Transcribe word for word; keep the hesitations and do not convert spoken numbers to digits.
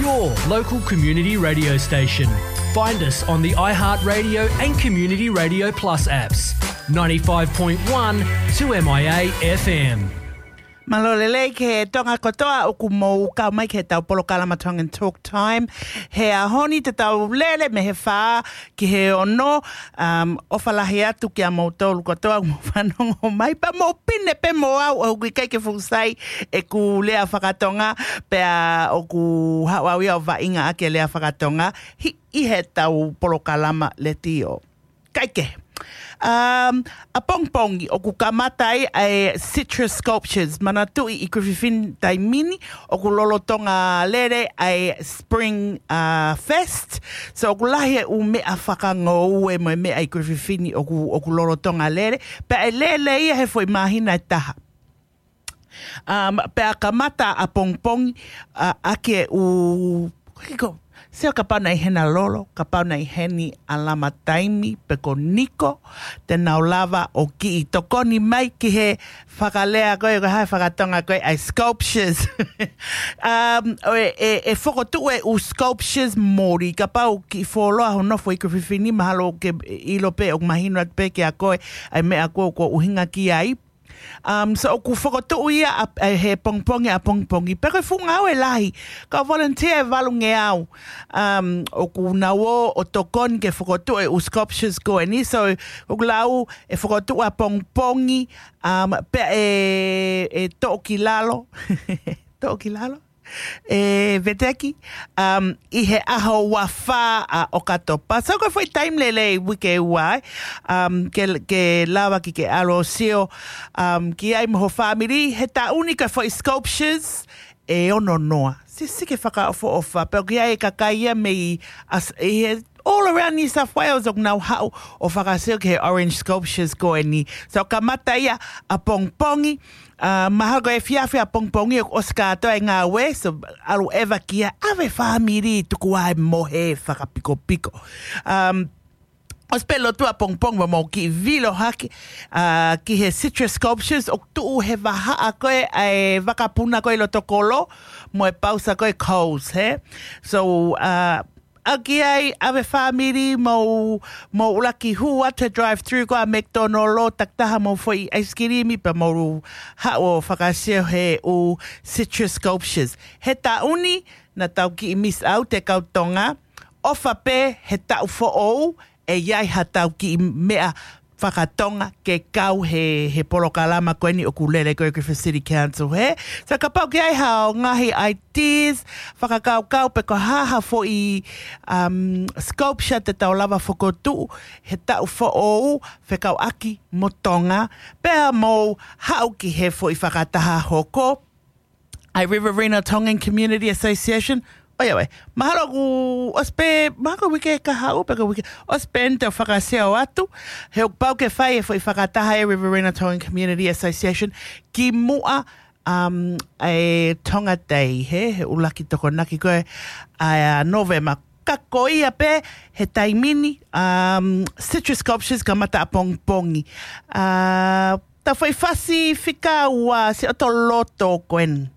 Your local community radio station. Find us on the iHeartRadio and Community Radio Plus apps. Ninety-five point one two M I A F M. Mālō lelei ki he Tonga kotoa ʻoku mou kau mai ki heʻetau polokalama Tongan Talk Time. He ʻaho ni te tau lele mei he fā ki he ono, um, ʻofa lahi atu kiate kimoutolu kotoa ʻoku mou fanongo mai, pea mou pine pē mo au, ʻoku ʻikai ke fuʻu sai ʻeku lea fakatonga, pea ʻoku haʻu au ia ʻo vaʻinga ʻaki e lea fakatonga, ʻi, ʻi heʻetau polokalama letiō. Kae kehe. Um, ʻapongipongi, ʻoku kamata ai ʻa e Citrus Sculptures. Manatuʻi ʻi Griffith Fini taimi ni, ʻoku lolotonga lele ʻa e Spring, uh, Fest. So ʻoku lahi e ʻū meʻa fakangoue mo e meʻa ʻi Griffith Fini ʻoku, ʻoku lolotonga lele. Pea ʻe lele ia he foʻi māhina ʻe taha. Um, pea kamata ʻapongipongi, uh, ʻaki e ʻū, ko e ko, sio kapau naʻe ʻi heni ʻa Lolo, kapau naʻe ʻi heni ʻa Lama Taimi, pe ko Niko, te nau lava ʻo kiʻi tokoni mai ki he fakalea ko ē, ko e hā e fakatonga ko ē, ʻa e sculptures. Um, ʻo e, e, e fokotuʻu e ʻū sculptures moli, kapau kiʻi fuoloa hoʻo nofo ʻi Griffith Fini, mahalo ke ʻilo pē, ʻoku mahino atu pē kiate koe ʻa e meʻa ko ē ʻoku ʻuhinga ki ai. Um, so ʻoku fokotuʻu ia ʻa, ʻa, he pongipongi ʻapongipongi. Pea ko e fuʻu ngāue lahi. Kau volunteer ʻe valungeau. Um, ʻoku nau ō ʻo tokoni ke fokotuʻu e ʻū sculptures ko eni. So ʻoku lau e fokotuʻu ʻapongipongi, um, pea ʻe, ʻe toʻo ki lalo. Toʻo ki lalo? ʻE veteki, um, ʻi he ʻaho ua fā ʻa ʻOkatopa. So ko e foʻi taimi lelei, uike ua, um, ke, ke lava ke ke ʻalu ʻo sio, um, ki ai mo ho fāmili, he taʻu ni ko e foʻi sculptures ʻe ono noa. Sisi ke fakaʻofoʻofa, pea ʻoku ʻi ai e kakai ia mei as-, ʻi he all around New South Wales ʻoku nau haʻu ʻo fakasio ki he orange sculptures ko eni. So kamata ia ʻapongipongi, uh, mahalo ko e efiafi ʻapongipongi ʻoku ʻosi kātoa e ngāue, so ʻalu ʻeva ki ai, ʻave fāmili tuku ai mo e fakapikopiko. Um, ʻosi pē lotu ʻapongipongi pea mou kiʻi vilo hake, uh, ki he citrus sculptures ʻoku tuʻu he vahaʻa ko ē ʻa e vakapuna ko ē ʻi loto kolo, mo e pausa ko ē Coles, he? So, uh, ʻalu ki ai, ʻave fāmili, mou, mou ʻuluaki hū atu he drive-through ko ē ʻa McDonald, takitaha mo e foʻi ice cream, pea mou haʻu ʻo fakasio he ʻū citrus sculptures. He taʻu ni, naʻa tau kiʻi miss out e kau Tonga, ʻofa pē he taʻu foʻou, ʻe ʻi ai haʻatau kiʻi meʻa fakatonga ke kau he, he polokalama ko eni ʻoku lele ko ē ʻi Griffith City Council, he? So kapau ʻoku ʻi ai haʻo ngaahi ideas, fakakaukau pe ko e hā ha foʻi, um, sculpture te tau lava fokotuʻu he taʻu foʻou fekauʻaki mo Tonga, pea mou haʻu ki he foʻi fakataha hoko ʻa e Riverina Tongan Community Association. ʻOiauē, mahalo kuo ʻosi pē, mahalo ko e uike kahaʻu pe ko e uike, ʻosi pē eni te u fakasio atu, he ʻoku pau ke fai e foʻi fakataha e Riverina Tongan Community Association kimuʻa, um, e Tonga Day, he, he ʻuluaki Tokonaki ko ē ʻa Nōvema. Ka ko ia pē he taimi ni, um, citrus sculptures kamata ʻapongipongi. Uh, ta foʻi fasi fika ua, siʻoto loto ko eni.